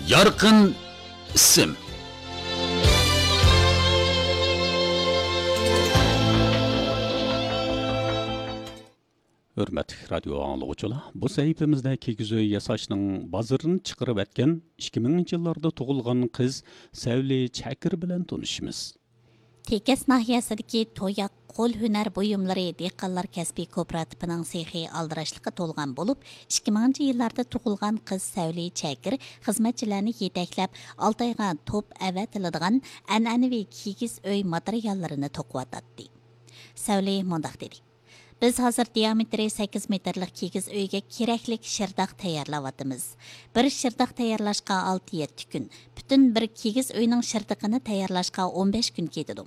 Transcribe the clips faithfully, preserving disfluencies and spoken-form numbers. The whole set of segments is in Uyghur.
يارقىن ئىسىم. ھۆرمەتلىك رادىيو ئاڭلىغۇچىلار، بۇ سەھىپىمىزدە كىگىز ئۆي ياساشنىڭ بازىرىنى چىقىرىۋەتكەن ئىككى مىڭىنچى يىللاردا تۇغۇلغان قىز سەۋلى چەكىر بىلەن تونۇشىمىز. تېكەس ناھىيەسىدىكى توياق قول ھۈنەر بۇيۇملىرى دېھقانلار كەسپىي كوپىراتىپىنىڭ سېخى ئالدىراشلىققا تولغان بولۇپ، ئىككى مىڭىنچى يىللاردا تۇغۇلغان قىز سەۋلى چەكىر خىزمەتچىلەرنى يېتەكلەپ، ئالتايغا توپ ئەۋەتىلىدىغان ئەنئەنىۋى كىگىز ئۆي ماتېرىياللىرىنى توقۇۋاتاتتى. سەۋلى مۇنداق دېدى: بىز ھازىر دىيامېتىرى سەككىز مېتىرلىق كىگىز ئۆيگە كېرەكلىك شىرداق تەييارلاۋاتىمىز. بىر شىرداق تەييارلاشقا ئالتە يەتتە كۈن، پۈتۈن بىر كىگىز ئۆينىڭ شىردىقىنى تەييارلاشقا ئون بەش كۈن كېتىدۇ.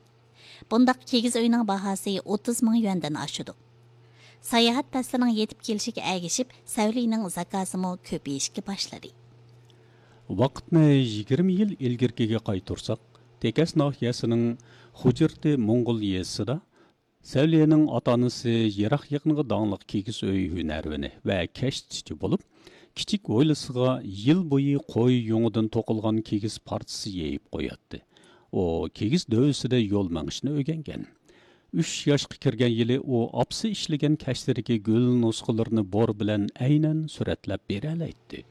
بۇنداق كىگىز ئۆينىڭ باھاسى ئوتتۇز مىڭ يۈەندىن ئاشىدۇ. ساياھەت پەسلىنىڭ يېتىپ كېلىشىگە ئەگىشىپ، سەۋلىنىڭ زاكازىمۇ كۆپىيىشكە باشلىدى. ۋاقىتنى يىگىرمە يىل ئىلگىرىكىگە قايتۇرساق، تېكەس ناھىيەسىنىڭ خۇجىرتى موڭغۇل يېزىسىدا سەۋلىنىڭ ئاتا-ئانىسى يىراق يېقىنغا داڭلىق كىگىز ئۆي ھۈنەرۋىنى ۋە كەشتىچى بولۇپ، كىچىك ھويلىسىغا يىل بويى قوي يۇڭىدىن توقۇلغان كىگىز پارچىسى يېيىپ قوياتتى. ئۇ كىگىز دۆۋىسىدە يول مېڭىشنى ئۆگەنگەن. ئۈچ ياشقا كىرگەن يىلى ئۇ ئاپىسى ئىشلىگەن كەشتىدىكى گۈل نۇسخىلىرىنى بور بىلەن ئەينەن سۈرەتلەپ بېرەلەيتتى.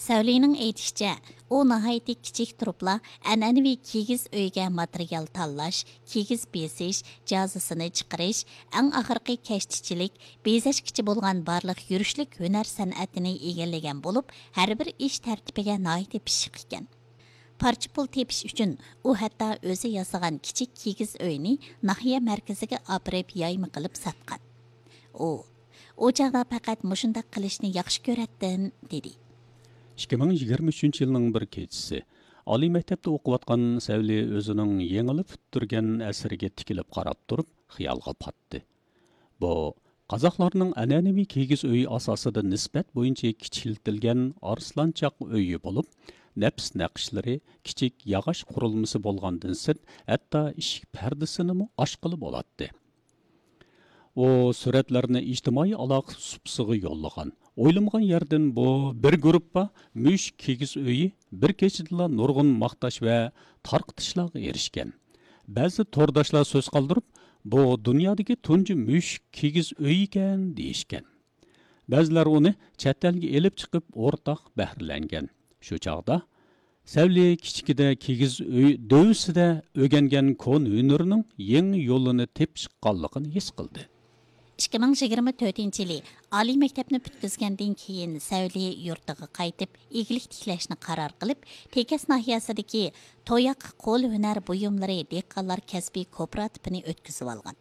سەۋلىنىڭ ئېيتىشىچە، ئۇ ناھايىتى كىچىك تۇرۇپلا ئەنئەنىۋى كىگىز ئۆيگە ماتېرىيال تاللاش، كىگىز بېسىش، جازىسىنى چىقىرىش، ئەڭ ئاخىرقى كەشتىچىلىك، بېزەشكىچە بولغان بارلىق يۈرۈشلۈك ھۈنەر سەنئەتىنى ئىگىلىگەن بولۇپ، ھەر بىر ئىش تەرتىپىگە ناھايىتى پىششىق ئىكەن. پارچە پۇل تېپىش ئۈچۈن ئۇ ھەتتا ئۆزى ياسىغان كىچىك كىگىز ئۆينى ناھىيە مەركىزىگە ئاپىرىپ يايما قىلىپ ساتقان. ئۇ، ئۇ چاغدا پەقەت مۇشۇنداق قىلىشنى ياخشى كۆرەتتىم، دېدى. ئىككى مىڭ يىگىرمە ئۈچىنچى يىلنىڭ بىر كېچىسى، ئالىي مەكتەپتە ئوقۇۋاتقان سەۋلى ئۆزىنىڭ يېڭىلا پۈتتۈرگەن ئەسىرىگە تىكىلىپ قاراپ تۇرۇپ، خىيالغا پاتتى. بۇ قازاقلارنىڭ ئەنئەنىۋى كىگىز ئۆيى ئاساسىدا نىسبەت بويىچە كىچىكلىتىلگەن ئارسلانچاق ئۆيى بولۇپ، نەپىس نەقىشلىرى، كىچىك ياغاچ قۇرۇلمىسى بولغاندىن سىرت، ھەتتا ئىشىك پەردىسىنىمۇ ئاچقىلى بولاتتى. ئۇ سۈرەتلەرنى ئىجتىمائىي ئالاقە سۇپىسىغا يوللىغان. ئويلىمىغان يەردىن بۇ بىر گۇرۇپپا مۈشۈك كىگىز ئۆيى بىر كېچىدىلا نۇرغۇن ماختاش ۋە تارقىتىشلارغا ئېرىشكەن. بەزى تورداشلار سۆز قالدۇرۇپ، بۇ دۇنيادىكى تۇنجى مۈشۈك كىگىز ئۆيى ئىكەن، دېيىشكەن. بەزىلەر ئۇنى چەت ئەلگە ئېلىپ چىقىپ ئورتاق بەھرىلەنگەن. شۇ چاغدا سەۋلى كىچىكىدە كىگىز ئۆي دۆۋىسىدە ئۆگەنگەن كونا ھۈنىرىنىڭ يېڭى يولىنى تېپىشقانلىقىنى ھېس قىلدى. ئىككى مىڭ يىگىرمە تۆتىنچى يىلى ئالىي مەكتەپنى پۈتكۈزگەندىن كېيىن سەۋلى يۇرتىغا قايتىپ، ئىگىلىك تىكلەشنى قارار قىلىپ، تېكەس ناھىيەسىدىكى توياق قول ھۈنەر بۇيۇملىرى دېھقانلار كەسپىي كوپىراتىپىنى ئۆتكۈزۈۋالغان.